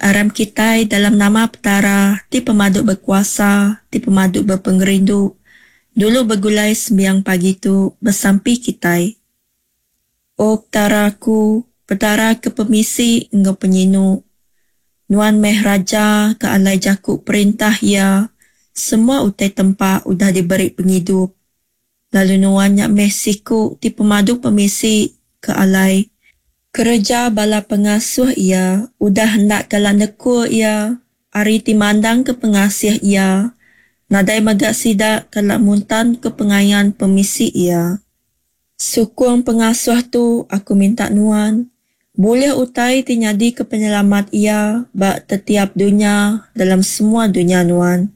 Aram kitai dalam nama Petara ti pemadu bekuasa, ti pemadu bepengerindu, dulu begulai sembiang pagi tu besampi kitai. O Petara aku, Petara ke pemisi enggau penyinu, Nuan meh Raja ke alai jaku perintah Iya semua utai tempa udah diberi pengidup, lalu Nuan nya meh siku ti pemadu pemisi ke alai kereja bala pengasuh Iya udah enda kala nekul Iya ari ti mandangka pengasih Iya, nadai mega sida kala muntanka pengayan pemisi Iya. Sukung pengasuh tu aku minta nuan, bulih utai ti nyadika penyelamat iya ba tetiap dunya dalam semua dunya nuan.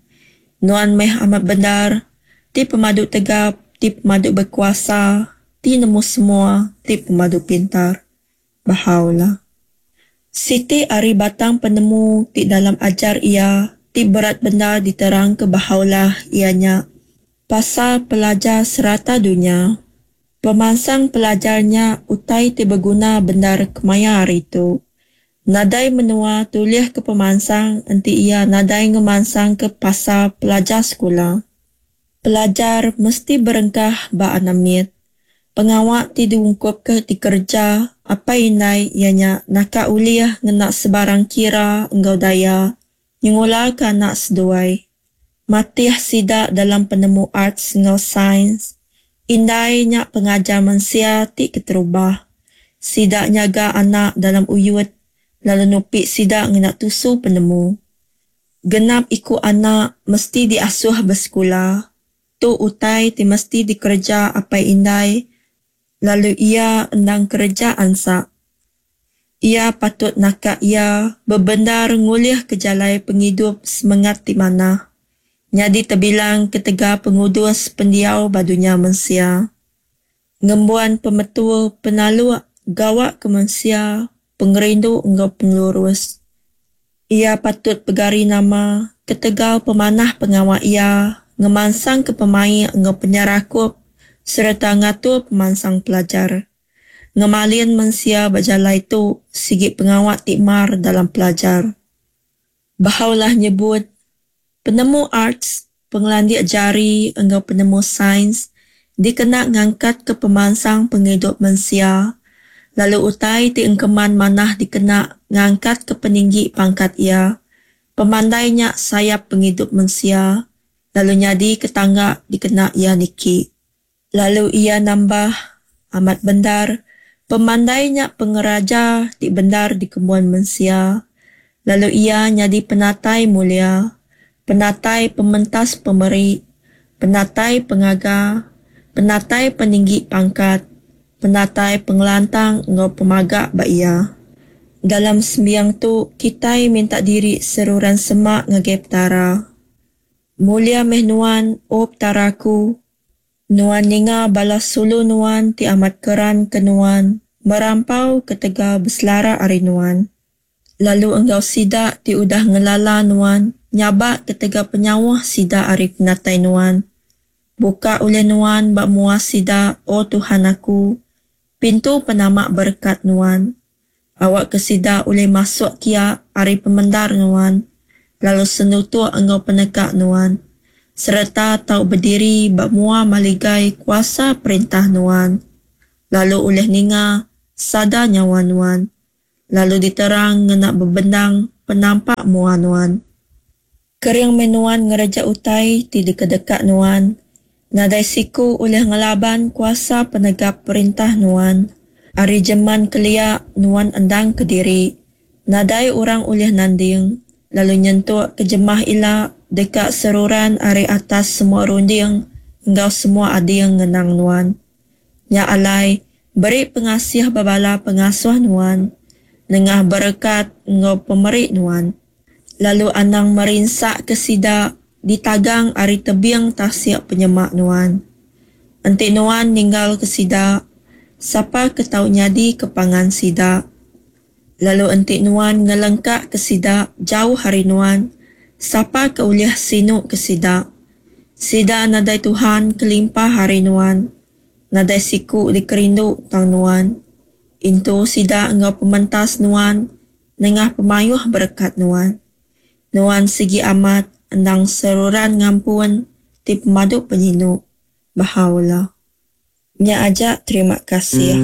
Nuan meh amat bendar, ti pemadu tegap, ti pemadu bekuasa, ti nemu semua, ti pemadu pintar. Bahá'u'lláh. Siti ari batang penemu ti dalam ajar iya ti berat bendar diterangka Bahá'u'lláh iya nya pasal pelajar serata dunya. Pemansang pelajar nya utai ti beguna bendar kemaya hari tu. Nadai menua tulihka pemansang enti iya nadai ngemansangka pasal pelajar sekula. Pelajar mesti berengkah ba anak mit. Pengawa ti diungkupka dikereja apai indai iya nya naka ulih ngena sebarang kira enggau daya nyengulaka anak seduai. Matih sida dalam penemu arts enggau sains. Indai nya pengajar mensia ti keterubah. Sida nyaga anak dalam uyut lalu nupi sida ngena tusu penemu. Genap iku anak mesti diasuh besekula. Tu utai ti mesti dikereja apai indai lalu iya endang kereja ansa. Iya patut naka iya bebendar ngulihka jalai pengidup semengat ti manah, nyadi tebilang ketegal pengudus pendiau ba dunya mensia. Ngembuan pemetul penaluk gawa ke mensia, pengerindu enggau pengelurus. Iya patut pegari nama ketegal pemanah pengawa iya ngemansangka pemaik enggau penyerakup sereta ngatur pemansang pelajar. Ngemalin mensia ba jalai tu sigi pengawa ti mar dalam pelajar. Baha'u'llah nyebut, Penemu arts, pengelandik jari enggau penemu sains dikena ngangkatka pemansang pengidup mensia lalu utai ti engkeman manah dikena ngangkatka peninggi pangkat iya. Pemandai nya sayap pengidup mensia lalu nyadika tangga dikena iya niki. Lalu iya nambah, Amat bendar, pemandai nya pengeraja ti bendar dikembuan mensia, lalu iya nyadi penatai mulia, penatai pementas pemeri, penatai pengaga, penatai peninggi pangkat, penatai pengelantang enggau pemaga ba iya. Dalam sembiang tu, kitai minta diri seruran semak ngagai Petara. Mulia meh Nuan, O Petara aku, Nuan ninga bala sulu Nuan ti amat keran ke Nuan merampau ketegal beselara ari Nuan, lalu enggau sida ti udah ngelala Nuan nyabak ketegal penyauh sida ari penatai Nuan. Buka ulih Nuan ba mua sida, O Tuhan aku, pintu penama berekat Nuan. Awakka sida ulih masuk kia ari pemendar Nuan, lalu senutuk enggau peneka Nuan, sereta tau bediri ba mua maligai kuasa perintah Nuan, lalu ulih ninga sada nyawa Nuan, lalu diterang ngena bebendang penampak mua Nuan. Kering meh nuan ngereja utai ti dikedeka nuan. Nadai siku ulih ngelaban kuasa penegap perintah nuan. Ari jeman kelia nuan endang kediri. Nadai orang ulih nanding, lalu nyentuk ke jemah ila deka seruran ari atas semua runding enggau semua ading ngenang nuan. Nya alai, beri pengasih ba bala pengasuh nuan nengah berekat enggau pemeri nuan. Lalu anang merinsaka sida ditagang ari tebing tasik penyemak nuan. Enti nuan ninggalka sida, sapa ke tau nyadika pangan sida? Lalu enti nuan ngelengkaka sida jauh ari nuan, sapa ke ulih sinuka sida? Sida nadai Tuhan kelimpah ari nuan. Nadai siku dikerindu tang nuan. Intu sida enggau pementas nuan. nengah pemayuh berekat Nuan. Nuan sigi amat endang seruran ngampun ti pemadu penyinu. Bahá'u'lláh. Nya aja terima kasih.